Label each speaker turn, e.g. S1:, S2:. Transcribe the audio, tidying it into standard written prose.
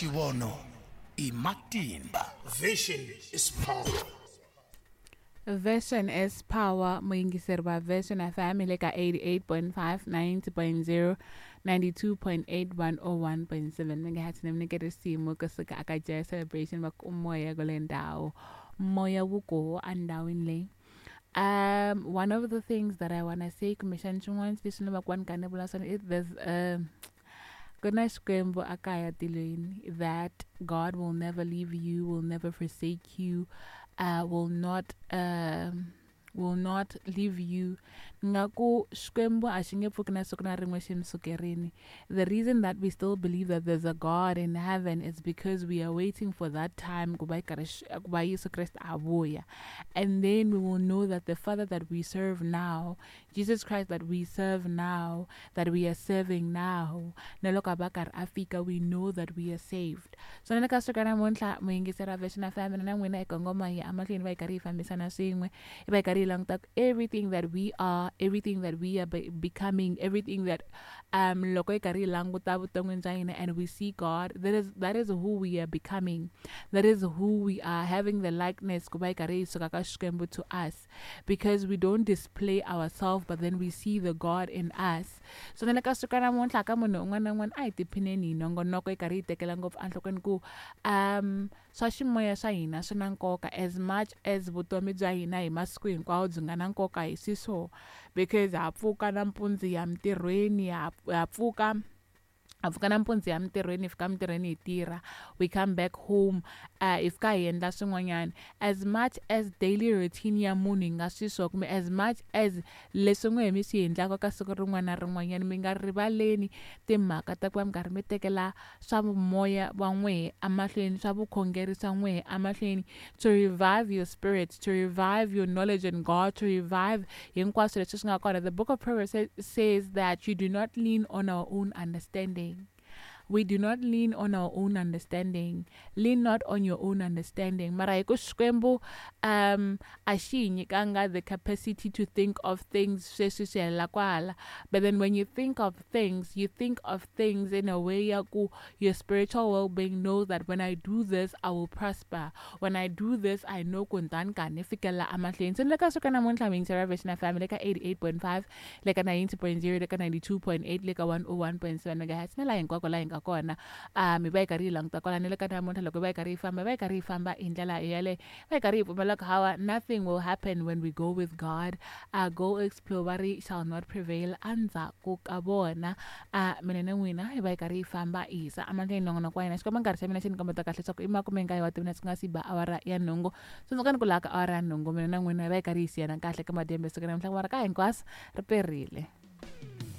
S1: Xivono i matimba.
S2: Vision is power.
S3: Version is power. Muyingiseri va Version FM hi le ka 88.5, 90.0, 92.8, 101.7 megahertz. Ni mi nyike risimu kusuka aka Jazz Celebration va ku moya kule ndhawu, moya wu koho endhawini leyi. One of the things that I wanna say, kumbexana xin'wana lexi ni va ku va ni kha ni vula swona, is there's ku na Xikwembu a kaya tilweni, that God will never leave you, will never forsake you, will not leave you. Ni nga ku Xikwembu a xi nge pfuki na siku na rin'we xi mi sukerini. The reason that we still believe that there's a God in heaven is because we are waiting for that time ku va yi karhi ku va Yesu Kreste a vuya, and then we will know that the Father that we serve now, Jesus Christ that we serve now, that we are serving now, na loko a va karhi a fika, we know that we are saved. So na le ka siku ra namuntlha, muyingiseri wa Version FM, na n'wina hi kongoma hi emahlweni, va hi karhi hi fambisana swin'we, hi va hi karhi hi languta everything that we are, everything that we are becoming, everything that loko hi karhi hi languta vuton'wini bya hina and we see God, that is who we are becoming, that is who we are having the likeness ku va hi karhi hi suka ka Xikwembu to us, because we don't display ourselves, but then we see the God in us. So na le ka siku ra namuntlha, ka munhu un'wana na un'wana, a hi tiphineni hi nongonoko, hi karhi hi tekela ngopfu enhlokweni ku swa ximoya swa hina swi na nkoka as much as vutomi bya hina hi masiku hinkwawo byi nga na nkoka hi swiswo, because ha pfuka nampundzu hi ya mintirhweni, ha pfuka, ha pfuka nampundzu hi ya mintirhweni, hi fika mintirhweni hi tirha, we come back home, hi fika hi endla swin'wanyana. As much as daily routine ya munhu yi nga swiswo, kumbe as much as leswi n'we mi swi endlaka ka siku rin'wana na rin'wanyana, mi nga rivaleni timhaka ta ku va mi karhi mi tekela swa moya wa n'wehe emahlweni, swa vukhongeri swa n'wehe emahlweni, to revive your spirit, to revive your knowledge in God, to revive hinkwaswo leswi swi nga kona. The Book of Proverbs says that you do not lean on our own understanding. We do not lean on our own understanding. Lean not on your own understanding. Mara hi ku Xikwembu a xi hi nyikanga the capacity to think of things sweswi swi helela kwala, but then when you think of things, you think of things in a way ya ku your spiritual well-being knows that when I do this, I will prosper. When I do this, I know ku ni ta ni karhi ni fikelela emahlweni. Se ni le ka siku namuntlha, muyingiseri wa Version FM, le ka 88.5, le ka 90.0, le ka 92.8, le ka 101.7 megahertz, na laha hinkwako laha hi nga kona, hi va hi karhi hi languta kwala. Ni le ka namuntlha, loko hi va hi karhi hi famba, hi va hi karhi hi famba hi ndlela yaleyo, va hi karhi hi pfumela ku hawa, nothing will happen when we go with God. Go explore va ri shall not prevail endzhaku ka vona. Mina na n'wina hi va hi karhi hi famba hi yisa emahlweni nongonoko wa hina. Xikomba nkarhi xa mina xi ni kombeta kahle leswaku i 19 wa timinete ku nga si ba awara ya 8. Tsundzukani ku laha ka awara ya 8, mina na n'wina hi va hi karhi hi siyana kahle ka madyambe siku namuntlha, mara ka hinkwaswo ri perile.